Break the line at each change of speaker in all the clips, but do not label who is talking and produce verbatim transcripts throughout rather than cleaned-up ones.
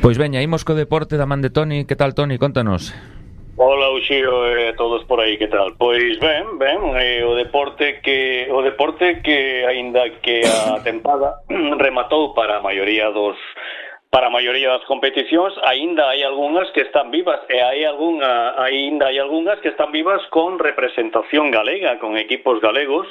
Pois veña, imos co deporte da man de Toni. Que tal, Toni? Contanos.
Hola, Uxío, e eh, todos por aí, que tal? Pois ben, ben, eh, o deporte que o deporte que aínda que a tempada rematou para a maioría dos para a maioría das competicións, aínda hai algunhas que están vivas e hai algunha aínda hai algunhas que están vivas con representación galega, con equipos galegos,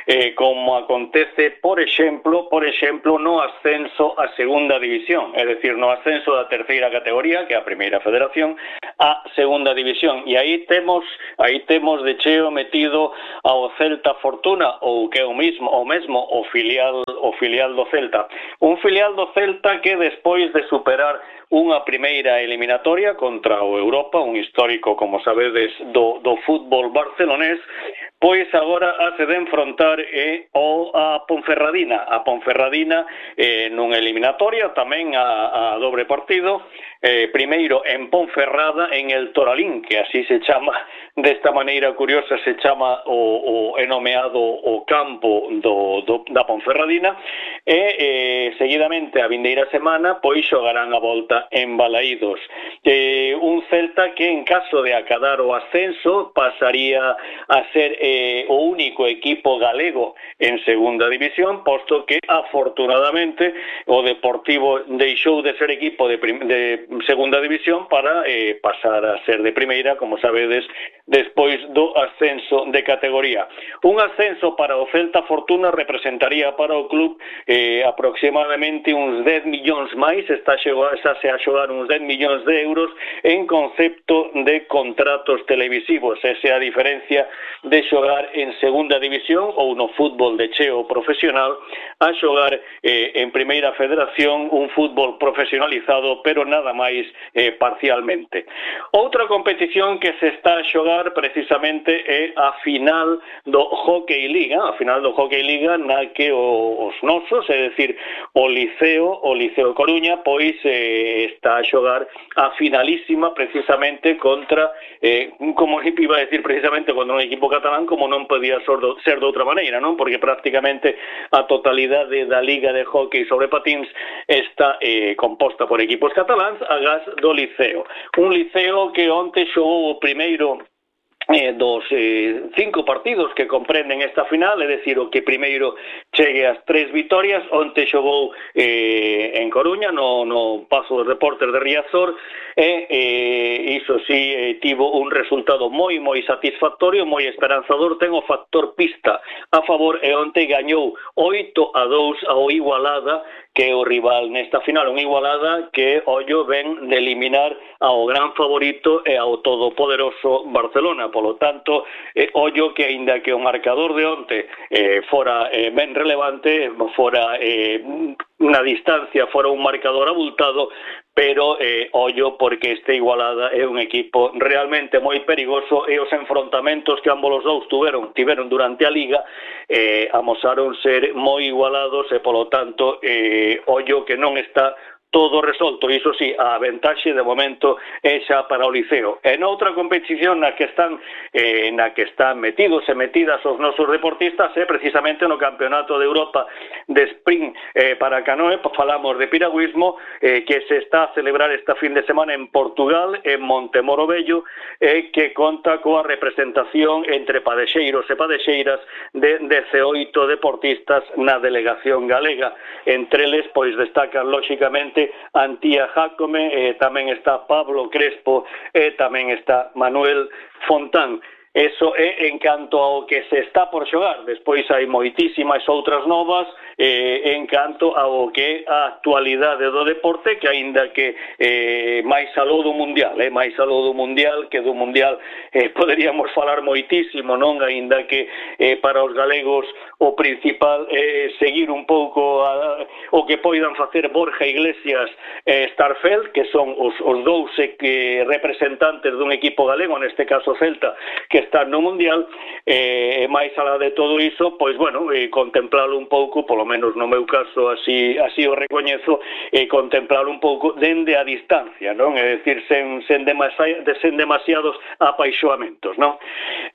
eh, como acontece, por exemplo, por exemplo, no ascenso a segunda división, é dicir, no ascenso da terceira categoría, que é a primeira federación, a segunda división, e aí temos aí temos de cheo metido ao Celta Fortuna, ou que é o mismo, o mesmo o filial o filial do Celta, un filial do Celta que despois de superar unha primeira eliminatoria contra o Europa, un histórico, como sabedes, do, do fútbol barcelonés, pois agora hace de enfrontar eh, o a Ponferradina, a Ponferradina eh, nunha eliminatoria, tamén a, a dobre partido, eh, primeiro en Ponferrada, en el Toralín, que así se chama, desta maneira curiosa se chama o, o enomeado o campo do, do, da Ponferradina, e eh, seguidamente a vindeira semana pois xogarán a volta en Balaídos. Eh, un Celta que en caso de acadar o ascenso pasaría a ser eh, o único equipo galego en segunda división, posto que afortunadamente o Deportivo deixou de ser equipo de, de segunda división para eh, pasar a ser de primeira, como sabedes, despois do ascenso de categoría. Un ascenso para o Celta Fortuna representaría para o club eh, aproximadamente uns dez millóns máis, está se a xogar uns dez millóns de euros en concepto de contratos televisivos. Esa é a diferencia de xogar en segunda división ou no fútbol de cheo profesional a xogar eh, en primeira federación, un fútbol profesionalizado, pero nada máis eh, parcialmente. Outra competición que se está a xogar precisamente é a final do Hockey Liga, a final do Hockey Liga na que o, os nosos, é dicir, o Liceo, o Liceo Coruña, pois eh, está a xogar a finalísima precisamente contra, eh, como iba a decir, precisamente contra un equipo catalán, como non podía ser de outra maneira, non? Porque prácticamente a totalidade da Liga de Hockey sobre Patíns está eh, composta por equipos cataláns, agás do Liceo. Un Liceo que onte xogou o primeiro Eh, dos eh, cinco partidos que comprenden esta final, é dicir, o que primeiro chegue ás tres vitorias. Onte xogou eh, en Coruña no, no Pazo dos Deportes de Riazor e eh, iso sí eh, tivo un resultado moi moi satisfactorio, moi esperanzador, ten o factor pista a favor e onte gañou oito a dous ao Igualada, que é o rival nesta final, unha Igualada que ollo ven de eliminar ao gran favorito e ao todopoderoso Barcelona. Polo tanto, eh, ollo que aínda que o marcador de onte eh, fora eh, ben relevante, fora eh, na distancia, fora un marcador abultado, pero eh, ollo porque este Igualada é un equipo realmente moi perigoso e os enfrontamentos que ambos os dous tuveron, tiveron durante a Liga eh, amosaron ser moi igualados e polo tanto eh, ollo que non está todo resolto. Iso sí, a ventaxe de momento é xa para o Liceo. E noutra competición na que están eh, na que están metidos e metidas os nosos deportistas é precisamente no Campeonato de Europa de Sprint eh, para canoe. Falamos de piragüismo eh, que se está a celebrar esta fin de semana en Portugal, en Montemoro Vello, eh, que conta coa representación entre padexeiros e padexeiras de dezaoito deportistas na delegación galega. Entre eles, pois, destacan lóxicamente Antía Jácome, eh, tamén está Pablo Crespo e tamén está Manuel Fontán. Eso é en canto ao que se está por xogar. Despois hai moitísimas outras novas eh, en canto ao que é a actualidade do deporte, que aínda que eh, máis aló do mundial, eh, máis aló do mundial, que do mundial eh, poderíamos falar moitísimo, non? Aínda que eh, para os galegos o principal é eh, seguir un pouco a, o que poidan facer Borja Iglesias e eh, Starfelt, que son os, os dous eh, representantes dun equipo galego, neste caso Celta, que está no mundial. E eh, máis alá de todo iso, pois bueno, eh, contemplalo un pouco, polo menos no meu caso así así o recoñezo, eh, contemplalo un pouco dende a distancia, non? É dicir, sen, sen, demasi, sen demasiados apaixoamentos, non?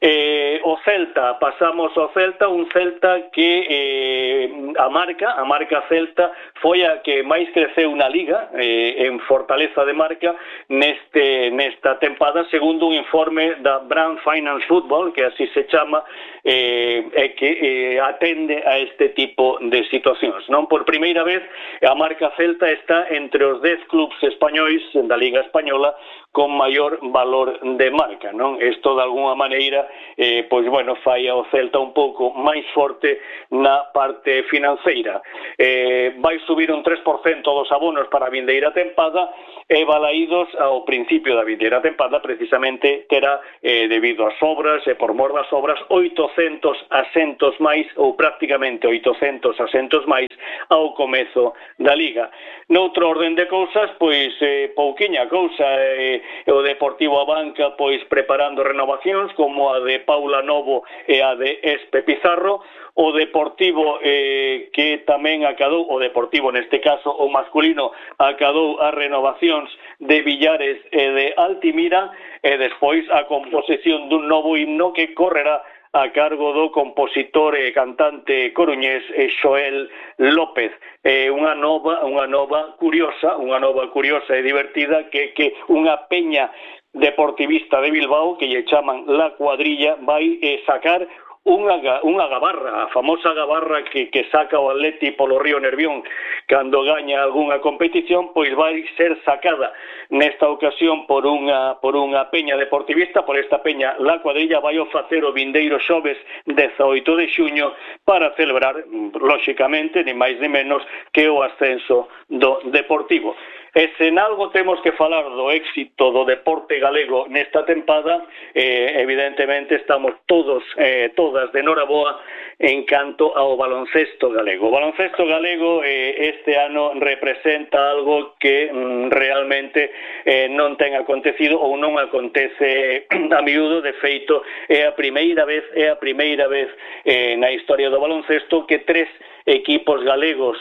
Eh, o Celta, pasamos ao Celta, un Celta que eh, a marca, a marca Celta foi a que máis creceu na Liga eh, en fortaleza de marca neste nesta tempada, segundo un informe da Brand Finance Football, que así se chama, eh, e que eh, atende a este tipo de situacións, non? Por primeira vez a marca Celta está entre os dez clubs españois da Liga Española con maior valor de marca, non? Isto de alguna maneira eh, pois bueno, fai ao Celta un pouco máis forte na parte financeira. Eh, vai subir un tres por cento dos abonos para a vindeira tempada e Balaídos ao principio da vindeira tempada precisamente terá, eh, debido ás obras e por mor das obras, oitocentos asentos máis ou prácticamente oitocentos asentos máis ao comezo da Liga. Noutro orden de cousas, pois eh, pouquiña cousa, eh, o Deportivo Abanca pois preparando renovacións como a de Paula Novo e a de Espe Pizarro, o Deportivo eh, que tamén acadou, o Deportivo neste caso o masculino, acadou as renovacións de Villares e de Altimira, e despois a composición dun novo himno que correrá a cargo do compositor e cantante coruñés Xoel López. É unha nova, unha nova curiosa, unha nova curiosa e divertida que que unha peña deportivista de Bilbao que lle chaman La Cuadrilla vai eh, sacar unha, unha gabarra, a famosa gabarra que, que saca o Atleti polo río Nervión cando gaña algunha competición, pois vai ser sacada nesta ocasión por unha, por unha peña deportivista, por esta peña La Cuadrilla. Vai o facer o vindeiro xoves dezaoito de xuño para celebrar, lóxicamente, ni máis ni menos que o ascenso do Deportivo. E se en algo temos que falar do éxito do deporte galego nesta tempada, eh, evidentemente estamos todos, eh, todas de noraboa en canto ao baloncesto galego. O baloncesto galego eh, este ano representa algo que mm, realmente eh, non ten acontecido ou non acontece a miúdo. De feito, é a primeira vez, é a primeira vez eh, na historia do baloncesto que tres equipos galegos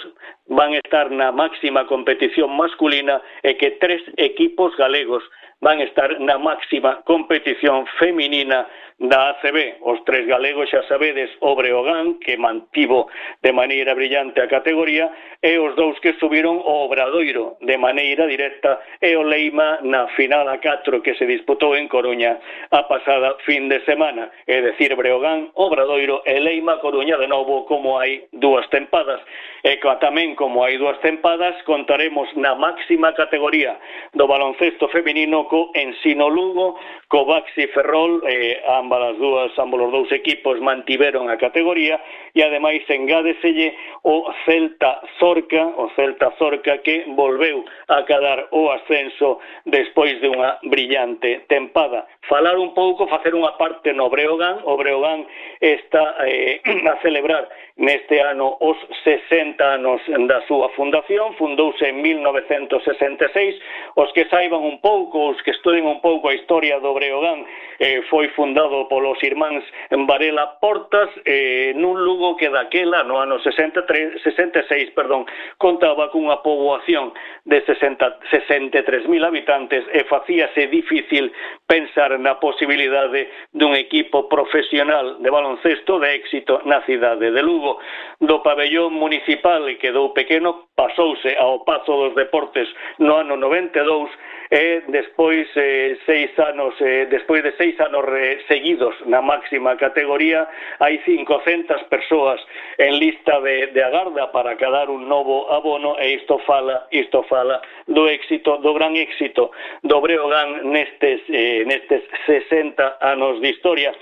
van estar na máxima competición masculina e que tres equipos galegos van estar na máxima competición feminina da A C B. Os tres galegos, xa sabedes, o Breogán, que mantivo de maneira brillante a categoría, e os dous que subiron o Obradoiro de maneira directa, e o Leima na final a catro que se disputou en Coruña a pasada fin de semana. É dicir, Breogán, Obradoiro e Leima Coruña de novo, como hai dúas tempadas. E tamén como hai dúas tempadas, contaremos na máxima categoría do baloncesto feminino co Ensino Lugo, co Baxi Ferrol, eh, ambas as dúas, ambos os dous equipos mantiveron a categoría, e ademais engádeselle o Celta Zorca, o Celta Zorca que volveu a cadar o ascenso despois de unha brillante tempada. Falar un pouco, facer unha parte no Breogán. O Breogán está eh, a celebrar neste ano os sesenta anos da súa fundación. Fundouse en mil novecentos sesenta e seis. Os que saiban un pouco, os que estuden un pouco a historia do Breogán, eh, foi fundado polos irmáns Varela Portas, eh, nun Lugo que daquela, no ano sesenta e tres, sesenta e seis, perdón, contaba cunha poboación de sesenta, sesenta e tres mil habitantes, e facíase difícil pensar na posibilidade dun equipo profesional de baloncesto de éxito na cidade de Lugo. Do pabellón municipal quedou pequeno, pasouse ao Pazo dos Deportes no ano noventa e dous, e despois eh, seis anos eh, despois de seis anos eh, seguidos na máxima categoría, hai cincocentas persoas en lista de, de agarda para cadar un novo abono, e isto fala isto fala do éxito, do gran éxito do Breogán nestes eh, nestes sesenta anos de historia.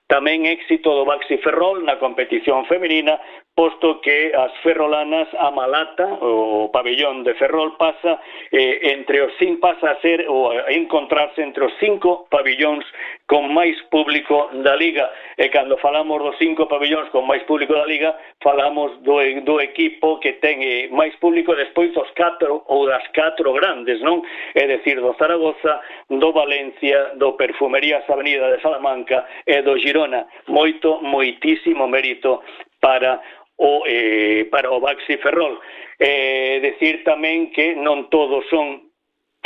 Tamén éxito do Baxi Ferrol na competición feminina, posto que as ferrolanas, a Malata, o pabellón de Ferrol, pasa eh, entre os cinco, pasa a ser ou a encontrarse entre os cinco pabellóns con máis público da Liga. E cando falamos dos cinco pabellóns con máis público da Liga, falamos do, do equipo que ten eh, máis público despois dos catro ou das catro grandes, non? É dicir, do Zaragoza, do Valencia, do Perfumerías Avenida de Salamanca e do Girona. Moito, moitísimo mérito para o eh, para o Baxi Ferrol. Eh, decir tamén que non todos son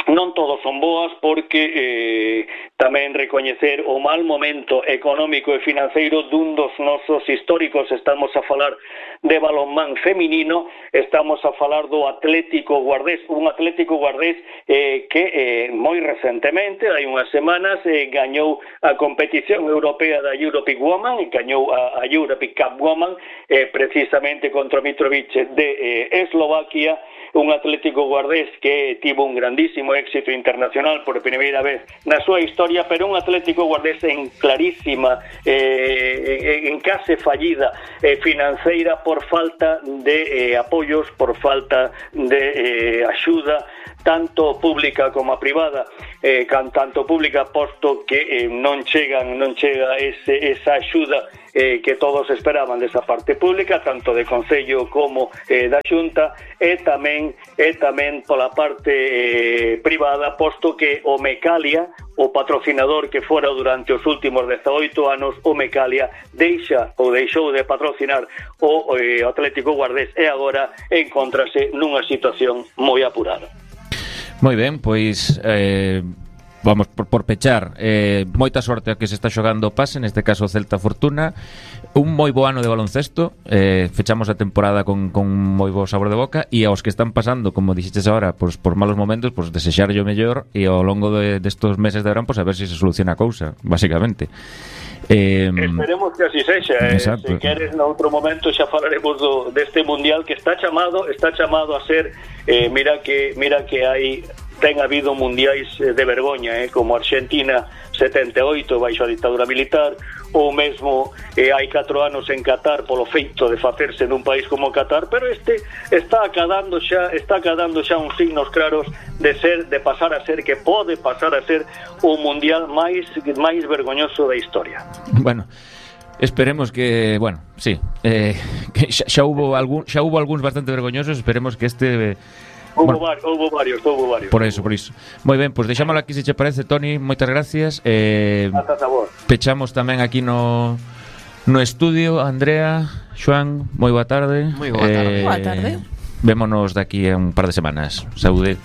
non todos son boas porque eh, tamén recoñecer o mal momento económico e financeiro dun dos nosos históricos. Estamos a falar de balonmán feminino, estamos a falar do Atlético Guardés, un Atlético Guardés eh, que eh, moi recentemente, hai unhas semanas, eh, gañou a competición europea da European Woman e gañou a, a European Cup Woman eh, precisamente contra Mitrovic de eh, Eslovaquia, un Atlético Guardés que tivo un grandísimo éxito internacional por primeira vez na súa historia, pero un Atlético Guardés en clarísima eh, en case fallida eh, financeira por falta de eh, apoios, por falta de eh, axuda tanto pública como privada, eh, tanto pública posto que eh, non chegan non chega ese, esa axuda eh, que todos esperaban desa parte pública, tanto de Concello como eh, da Xunta, e tamén e tamén pola parte eh, privada, posto que o Mecalia, o patrocinador que fora durante os últimos dezaoito anos, o Mecalia deixa ou deixou de patrocinar o eh, Atlético Guardés e agora encontrase nunha situación moi apurada.
Moi ben, pois eh, vamos por, por pechar eh, moita sorte a que se está xogando o pase, neste caso o Celta Fortuna, un moi bo ano de baloncesto, eh, fechamos a temporada con, con moi bo sabor de boca, e aos que están pasando, como dixetes agora, pues, por malos momentos, pues, desexarlle o mellor, e ao longo de, destos meses de verán, pues, a ver se si se soluciona a cousa, basicamente. Eh,
Esperemos que así sexa, eh, se queres noutro momento xa falaremos do, deste mundial que está chamado está chamado a ser eh, mira que mira que hai ten habido mundiais de vergoña, eh, como Argentina setenta e oito baixo a ditadura militar, ou mesmo eh, hai catro anos en Qatar polo feito de facerse nun país como Qatar, pero este está acadando xa está acadando xa uns signos claros de ser de pasar a ser que pode pasar a ser o mundial máis máis vergoñoso da historia.
Bueno, esperemos que, bueno, sí, eh, que xa, xa hubo algún xa hubo algúns bastante vergoñosos, esperemos que este
Houbo,
bueno,
var, houbo varios, houbo varios.
Por eso, por iso. Moi ben, pois pues deixámoslo aquí se che parece, Toni, moitas gracias. Eh,
Hasta sabor.
Pechamos tamén aquí no no estudio, Andrea, Xoán, moi boa tarde.
Moi boa tarde.
Eh,
Boa tarde.
Vémonos daqui a un par de semanas. Saúde.